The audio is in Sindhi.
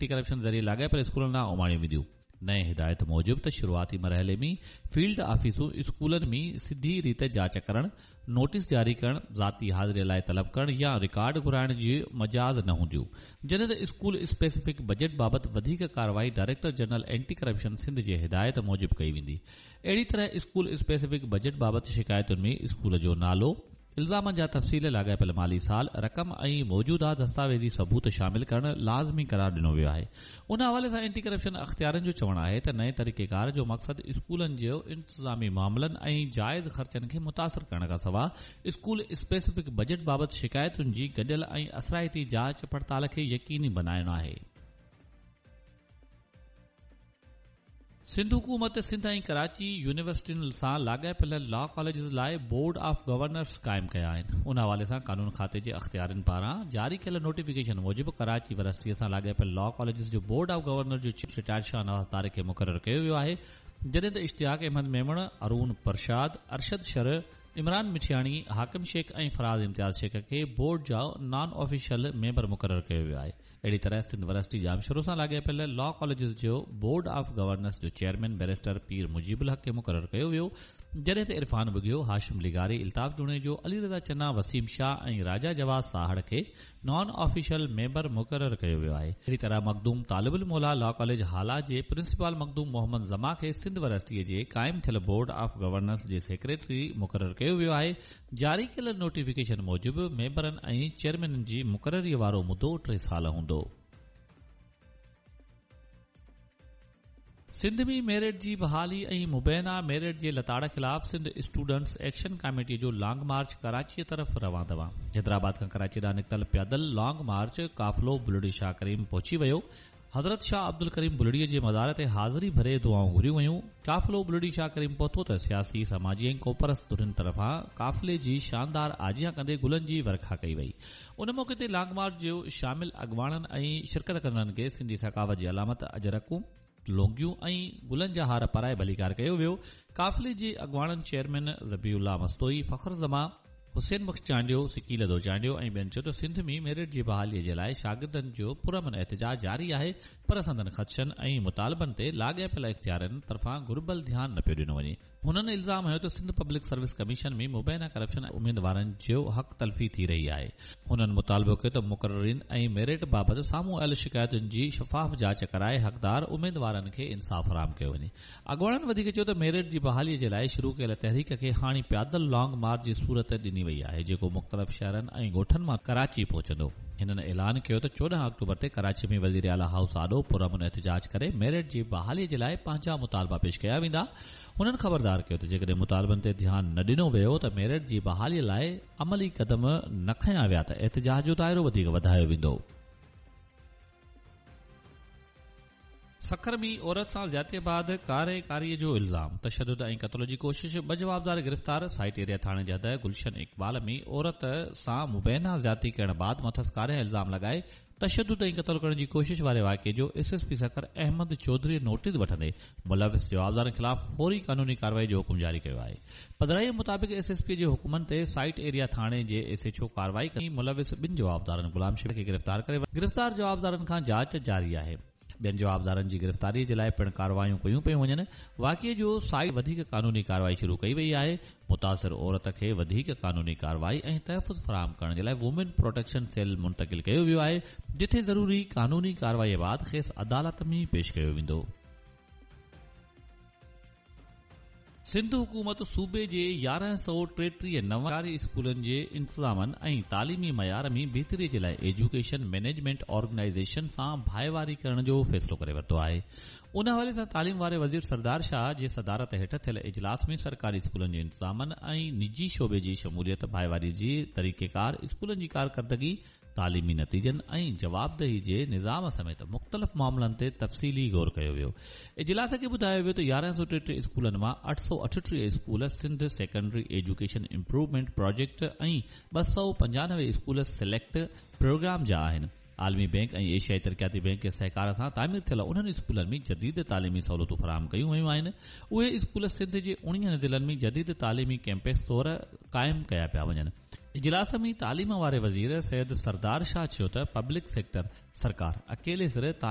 اينٽي ڪرپشن ذريعي لاڳاپيل اسڪولن ڏانهن اماڻيون وينديون. نئين هدايت موجب ته شروعاتي مرحلي ۾ فيلڊ آفيسون اسڪولن ۾ سڌي ريت جاچ ڪرڻ، نوٽيس جاري ڪرڻ، ذاتي حاضري لاء طلب ڪرڻ يا رڪارڊ گهرائڻ جي مجاز نه هونديون. جڏهن ته اسڪول اسپيسفڪ بجيٽ بابت وڌيڪ ڪارروائي director general anti corruption Sindh جي هدايت موجب ڪئي ويندي. اهڙي طرح اسڪول اسپيسفڪ بجيٽ بابت شڪايتن ۾ اسڪول جو نالو، الزامن جا تفصيل، لاڳاپيل مالي سال، رقم ۽ موجوده دستاويزي ثبوت شامل ڪرڻ لازمي قرار ڏنو ويو آهي. ان حوالي سان اينٽي ڪرپشن اختيارين جو چوڻ آهي ته نئين طريقيڪار جو مقصد اسڪولن جي انتظامي معاملن ۽ جائز خرچن کي متاثر ڪرڻ کانسواء اسڪول اسپيسفڪ بجيٽ بابت شڪايتن جي گڏيل ۽ اثرائتي جاچ پڙتال کي يقيني بنائڻ آهي. سنڌ حڪومت سنڌ ۽ ڪراچي يونيورسٽين سان لاڳاپيل لا ڪاليجز لاء بورڊ آف گورنرز قائم ڪيا آهن. ان حوالي سان قانون کاتي جي اختيارين پاران جاري ڪيل نوٽيفڪيشن موجب ڪراچي ورسٽي سان لاڳاپيل لا ڪاليجز جو بورڊ آف گورنر جو چيف رٽائرڊ شاهنواز طارق کي مقرر ڪيو ويو آهي جڏهن ته اشتياق احمد ميمڻ، ارون پرشاد، ارشد شر، عمران مٺياڻي، حاڪم شيخ ۽ فراز امتياز شيخ کي بورڊ جا نان آفيشل ميمبر مقرر ڪيو ويو آهي. اهڙي طرح سنڌ ورسٽي ڄامشورو سان لاڳاپيل لا ڪاليجز جو بورڊ آف گورنرس جو چيئرمين بئريسٽر پير مجيب الحق کي مقرر ڪيو ويو، جڏهن ته عرفان ٻگهيو، هاشم لغاري، الطاف جوڻيجو، علي رضا چنا، وسيم شاهه ۽ راجا جواز ساهڙ کي نان آفيشل ميمبر مقرر ڪيو ويو آهي. اهڙي طرح مخدوم طالب الموليٰ لا ڪاليج هالا جي پرنسپال مخدوم محمد زمان کي سنڌ ورسٽيء جي قائم ٿيل بورڊ آف گورنرس جي سيڪريٽري مقرر ڪيو ويو آهي، جاري ڪيل نوٽيفڪيشن موجب ميمبرن ۽ چيئرمينن جي مقرري وارو مدو ٽي سال هوندو. سنڌ ۾ ميرٽ جي بحالي ۽ مبينا ميرٽ جي لتاڙ خلاف سنڌ اسٽوڊنٽس ايڪشن ڪاميٽي جو لانگ مارچ ڪراچيء طرف روان دوان. حيدرآباد کان ڪراچي ڏانهن نڪتل پيادل لانگ مارچ قافلو بلڙي شاهه ڪريم پهچي ويو. حضرت شاهه عبدالڪريم بلڙيء جي مزار تي حاضري ڀري دعائون گهريون ويون. قافلو بلڙي شاهه ڪريم پهتو ته سياسي، سماجي ۽ قومپرست ڌرين طرفان قافلي جي شاندار آجيان ڪندي گلن جي ورکا ڪئي وئي. ان موقعي تي لانگ مارچ جي شامل اڳواڻن ۽ شرڪت ڪندڙن کي سنڌي ثقافت جي علامت اجرڪون، لونگيون ۽ گلن جا هار پارائي ڀليڪار ڪيو ويو. قافلي جي اڳواڻن چيئرمين ذبيح الله مستوئي، فخر زمان، حسين بخش چانڊيو، سڪيلڌو چانڊيو ۽ ٻين چيو ته سنڌ ۾ ميرٽ جي بحالي جي لاء شاگردن جو پرامن احتجاج جاري آهي پر سندن خدشن ۽ مطالبن تي لاڳاپيل اختيارين طرفان گهربل ڌيان نه پيو ڏنو وڃي. هنن الزام هنيو ته سنڌ پبلڪ سروس ڪميشن ۾ مبينا ڪرپشن ۽ اميدوارن جو حق تلفي ٿي رهي آهي. هنن مطالبو ڪيو ته مقررين ۽ ميرٽ بابت سامهون آيل شڪايتن جي شفاف جاچ ڪرائي حقدار اميدوارن کي انصاف فراهم ڪيو وڃي. اڳواڻن وڌيڪ چيو ته ميرٽ جي بحالي جي لاء شروع ڪيل تحريڪ کي هاڻي پيادل لانگ مارچ جي صورت ڏني وئي آهي جيڪو مختلف شهرن ۽ ڳوٺن مان ڪراچي پهچندو. هنن اعلان ڪيو ته 14 آڪٽوبر تي ڪراچي ۾ وزيراعليٰ هائوس آڏو پرامن احتجاج ڪري ميرٽ جي بحالي جي لاء پنهنجا مطالبا پيش ڪيا ويندا. هنن خبردار ڪيو ته جيڪڏهن مطالبن تي ڌيان نه ڏنو ويو ته ميرٽ جي بحالي لاء عملي قدم نه کنيا ويا ته احتجاج جو دائرو وڌيڪ وڌايو ويندو. سکر ۾ عورت سان زيادتي بعد ڪاري ڪاري جو الزام، تشدد ۽ قتل جي ڪوشش، ٻه جوابدار گرفتار، سائيٽ ايريا ٿاڻي جي حد گلشن اقبال ۾ عورت سان مبينا زيادتي ڪرڻ بعد مٿس ڪاري الزام لڳائي تشدد ۽ قتل ڪرڻ جي ڪوشش واري واقعي جو S S P Sukkur Ahmed Chaudhry notice وٺندي ملوث جوابدارن خلاف فوري قانوني ڪارروائي جو حڪم جاري ڪيو آهي. پڌرائيء مطابق ايس ايس پي جي حڪمن تي سائيٽ ايريا ٿاڻي جي ايس ايڇ او ڪارروائي ڪندي ملوث ٻن جوابدارن غلام شبير کي گرفتار ڪري گرفتار جوابدارن کان جاچ جاري آهي. ٻين جوابدارن جي گرفتاري جي لاء پڻ ڪارروايون ڪيون پيون وڃن. واقعي جو سائيٽ وڌيڪ قانوني ڪارروائي شروع ڪئي وئي آهي. متاثر عورت کي وڌيڪ قانوني ڪارروائي ۽ تحفظ فراهم ڪرڻ جي لاء وومين پروٽيڪشن سيل منتقل ڪيو ويو آهي، جتي ضروري قانوني ڪارروائي بعد کيس عدالت ۾ پيش ڪيو ويندو. سنڌ حڪومت صوبي جي 1133 نون سرڪاري اسڪولن جي انتظامن ۽ تعليمي معيار ۾ بهتري جي لاء ايجوڪيشن مئنيجمينٽ آرگنائيزيشن سان ڀائيواري ڪرڻ جو فيصلو ڪري ورتو آهي. ان حوالي سان تعليم واري وزير سردار شاهه جي صدارت هيٺ ٿيل اجلاس ۾ سرڪاري اسڪولن جي انتظامن ۽ نجي شعبي جي شموليت ڀائيواري جي طريقيڪار، اسڪولن جي ڪارڪردگي، تعليمي نتيجن ۽ جوابدهي جي نظام سميت مختلف معاملن تي تفصيلي غور ڪيو ويو. اجلاس کي ٻڌايو ويو ته 1133 اسڪولن مان 838 school Sindh secondary education improvement project ۽ 295 school select programme جا آهن. عالمي بئنڪ ۽ ايشيائي ترقياتي بئنڪ جي سهڪار سان تعمير ٿيل انهن اسڪولن ۾ جديد تعليمي سهولتون فراهم ڪيون ويون آهن. اهي اسڪول سنڌ جي 19 ضلعن ۾ جديد تعليمي ڪئمپس طور قائم ڪيا پيا وڃن. اجلاس ۾ تعليم واري وزير سيد سردار شاهه چيو ته پبلڪ سيڪٽر سرڪار اڪيلي سر تعليم